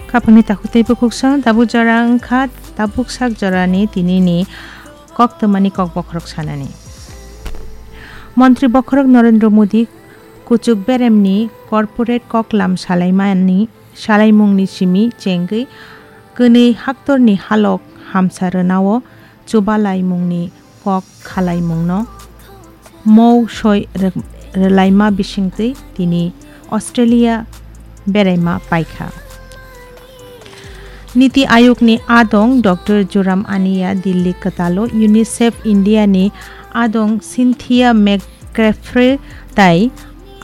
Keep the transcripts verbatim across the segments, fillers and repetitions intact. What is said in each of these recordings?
Khapangni takhuk tei bukhuksa tabuk jora wngkha, tabuk sak jorani tinini koktwmani kok bokhorok sanani. Montri bokhorok Narendra Modi kuchuk beremni corporate koklam salaimani salaimungni simi chengwi kwnwi haktorni halok hamsa rwnao chubalaimungni kok khalaimungno mou soi rw-, rwlaima bisingtwi tini Australia beraima paikha. Niti Ayogni adong Doctor Joram Ania Delhi kwtalo UNICEF India ni adong Cynthia McCaffrey tai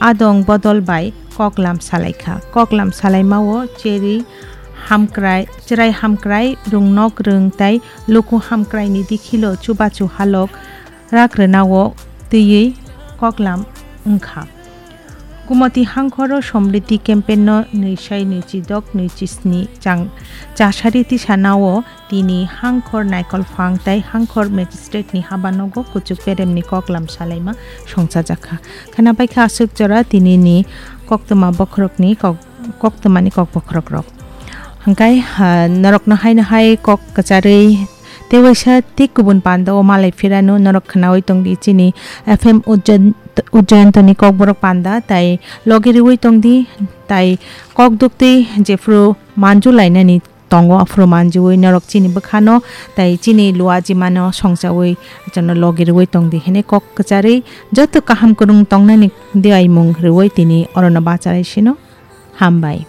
adong bodol bai koklam salaikha. Koklam salaimao cheri hamkrai, chwrai hamkrai, rwngnok rwng tai luku hamkraini dikhilo chubachu halok rak rwnao twiwi koklam wngkha. Gumoti hangkhoro Somriddhi campaign no nwi sai nwi chi dok nwi chi sni chang chasari tisanao tini hangkhor Naikolphang tai hangkhor magistrate ni habanogo kuchuk beremni koklam salaima songchajakha. Khwnabaikha aswk jora tinini koktwma bokhorokni kok, koktwmani kok bokhorokrok. Hwnkhe, ha, norokno haino hai kok kwcharwi tei waisa tei kubun panda o malai phirano norok khwnawi tongdi chini F M Ujjayan-, Ujjayantoni kokborok panda tai logi riwi tongdi tai kok duktwi jephru manju lainani tongo aphuru manjuwi norok chini bwkhano tai chini luajimano songchawi jono logi riwi tongdi hwnwi kok kwcharwi joto kaham kwrwng tongnani diaimung riwi tini orono bachalai sino. Hambai.